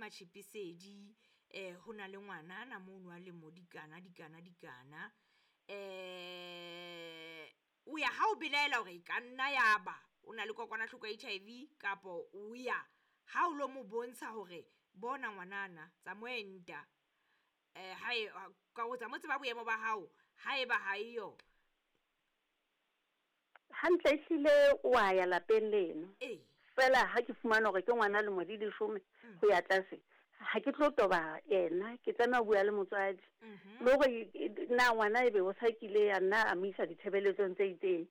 Matšhepisedi um ho na le ngwanana mono a lemo dikana dikana dikana um o ya ha o belaela hore e ka nna ya ba o na le kokwanahloko ya HIV kapo o ya ha o lo mo bontsha hore bona ngwanana tsa mo enta um ha e ka o tsa mo tseba boemo ba hao ha eba ha eyo. Hantle ehlile wa ya lapeng leno. Ee. Fela ha ke fumana hore ke ngwana lemo di 10 go ya tlase, ha ke tlo toba yena, ke tlameha ho bua le motswadi. Le hore na ngwana ebe o sa kile a nna a mo isa ditshebeletsong tse itseng.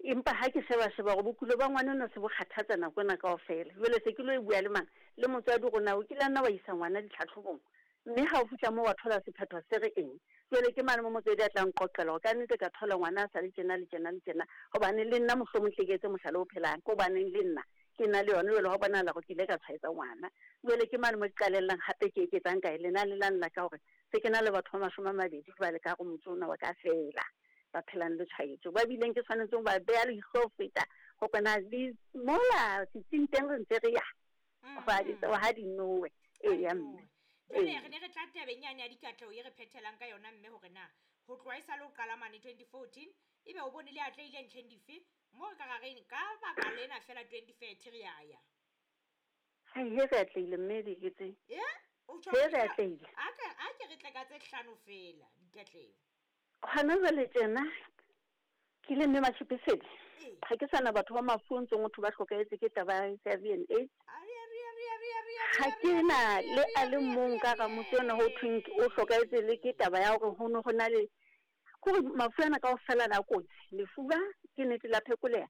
Empa ha ke sheba sheba hore bokulo ba ngwana enwa se bo kgathatsa nako ena kaofela. Jwale se ke lo e bua le mang? Le motswadi hore na o kile a nna wa isa ngwana ditlhatlhobong. Mme ha o fihla moo wa thola sephetho se re eng? Jwale ke mane mo motswadi a tla nqoqela hore ka nnete ka thola ngwana a sa le tjena le tjena le tjena. Hobane le nna mohlomong tle ke etse mohlala o phelang. Ke hobaneng le nna ke na le yona jwale hwa bonahala hore ke ile ka tshwaetsa ngwana. Jwale ke mane mo ke qalellang hape ke eketsang kae lenane lane la ka hore se ke na le batho ba 20 jwale ka hare ho motse ona wa ka feela ba phelang le tshwaetso. Ba bileng ke tshwanetse ho ba beha leihlo ho feta hore na le mola setsing teng re ntse re ya. Ga di nowe. Eya mme. Jwale re ne re tla tabeng yane ya dikatleho e re phethelang ka yona mme hore na ho tloha e sa le ho qala mane 2014 ebe o bone le atlehile ntlheng dife mo re ka ra reng ka baka lena fela 2030 re ya ya. Hai he re atlehile mme diketseng. O tjho He re atlehile. A ke re tle ka tse 5 fela dikatleho. Hona jwale tjena ke le mme Matšhepisedi ga ke sana batho ba mafu ntseng motho ba hlokahetse ke taba ya HIV and AIDS. Ga ke na le a le mong ka ga motse ona ho thweng o hlokahetse le ke taba ya hore ho ne go na le kore mafu ana kaofela na kotsi. Lefuba ke nnete la phekoleha.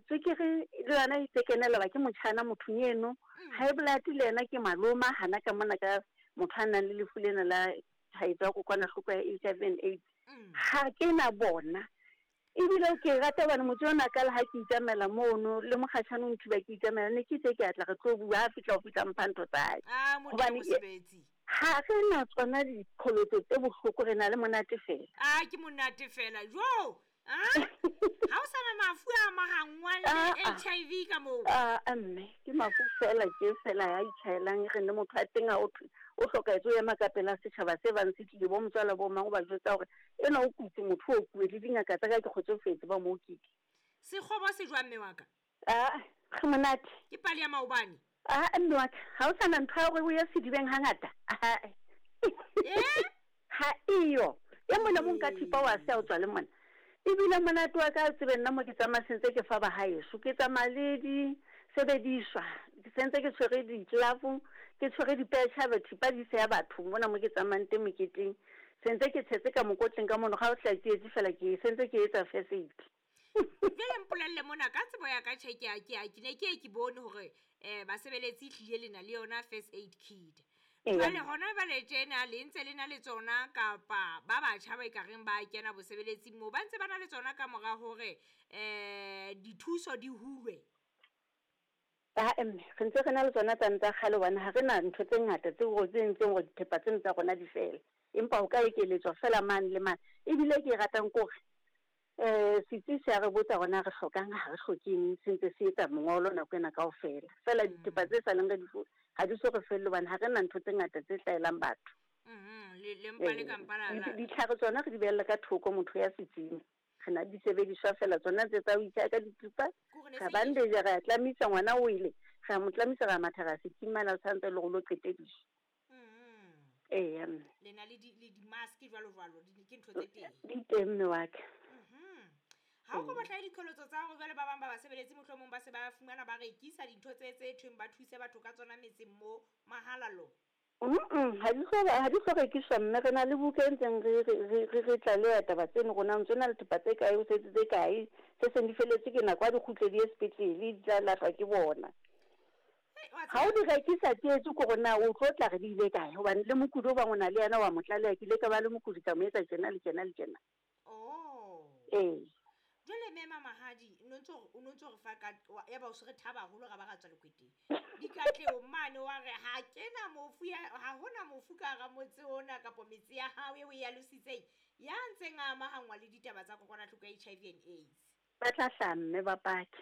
Tswekere le yona e tse kenela ba ke motjhana mothong eno. High blood le yena ke maloma hana ka mona ka motho a nang le lefu lena la tshwaetso ya kokwanahloko ya HIV and AIDS. Ha ke na bona. Ebile ke rata hobane motse ona ka le ha ke itsamaela mono le mokgatjhane o nthiba ke itsamaela ne ke itse ke atla re tlo bua ha fihla ho fihla mpha ntho tsa hae. Hobane ha re na tsona diqholotso tse bohloko re na le monate fela. A ke monate fela. Jo! Ha o sana mafu a amahangwang le HIV ka moo? A mme ke mafu fela ke fela ya itjhaelang re ne motho a teng a o thwe o hlokahetse o ema ka pela setjhaba se bang se tlile bo motswala bo mang o ba jwetsa hore ena o kutse motho o kuwe le dingaka tsa ka ke kgotsofetse ba mo okile. Sekgobo se jwang mme wa ka? Re monate. Ke pale ya maobane. Mme wa ka ha o sana ntho ya hore o ye sedibeng hangata. Ha eyo. E mong le mong ka thipa wa se a o tswa le mona. Ebile monate wa ka tsebe nna mo ke tsamaya sentse ke fa ba haeso ke tsamaya le di sebediswa ke sentse ke tshwere di-glove ke tshwere dipetjha thipa di seya batho mona mo ke tsamayang teng moketeng sentse ke tshetse ka mokotleng ka mono ga o tla tsietsi fela ke sentse ke etsa first aid. Jwale mpolelle mona ka tsebo ya ka tjhe ke ne ke ke bone hore basebeletsi ehlile le na le yona first aid kit. Jwale hona jwale tjena le ntse le na le tsona kapa ba batjha ba ekareng ba kena bosebeletsing moo ba ntse ba na le tsona ka mora hore dithuso di hulwe? Mme re ntse re na le tsona tsane tsa kgale hobane ha re na ntho tse ngata tseo tse entseng hore dithepa tseno tsa rona di fele. Empa ho ka ekeletswa fela mane le mane. Ebile ke e ratang ke hore setsi se a re botsa hore na re hlokang ha re hlokeng se ntse se etsa mongolo nako ena kaofela. Fela dithepa tse saleng re di ha di so re felle hobane ha re na ntho tse ngata tse hlahelang batho. Le mpa le ka mpa la Ditlhare tsona re di behella ka thoko motho ya setsing. Re na di sebediswa fela tsona tse tsa ho itjha ka dithupa. Ra bandage ra tlamisa ngwana o ile. Ra mo tlamisa ra matha ra setsing mane a santse le go lo qetediswa. Eya mme. Le na le di-mask jwalo jwalo, ke ntho tse teng. Di teng mme wa ka. Ha o ko batla diqholotso tsa hore jwale ba bang ba basebeletsi mohlomong ba se ba fumana ba rekisa dintho tse tse thweng ba thuse batho ka tsona metseng mo mahala lo. Ha di so rekiswa mme re na le buka e ntseng re tlaleha taba tseno rona ntse na le thepa tse kae o setse tse kae se seng di feletse ke nako ha di kgutle di ye sepetlele di tla lahlwa ke bona. Ha o di rekisa tsietsi ke hore na o tlo tla re di ile kae hobane le mokudi o bang o na le yena wa mo tlaleha ke ile ka ba le mokudi ka mo etsa tjena le tjena le tjena. Ee. Jwale mme Mamahadi o no ntso re fa ka ya ba o se re thaba haholo ra ba ra tswa lekweteng. Dikatleho mane wa re ha kena mofu ya ha hona mofu ka hara motse ona kapa metse ya hao eo e alositseng ya ntseng a amahangwa le ditaba tsa kokwanahloko ya HIV and AIDS. Ba tla hlaha mme ba pake.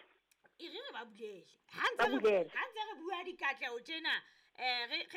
E re re ba bulele. Ha ntse re bua dikatleho tjena re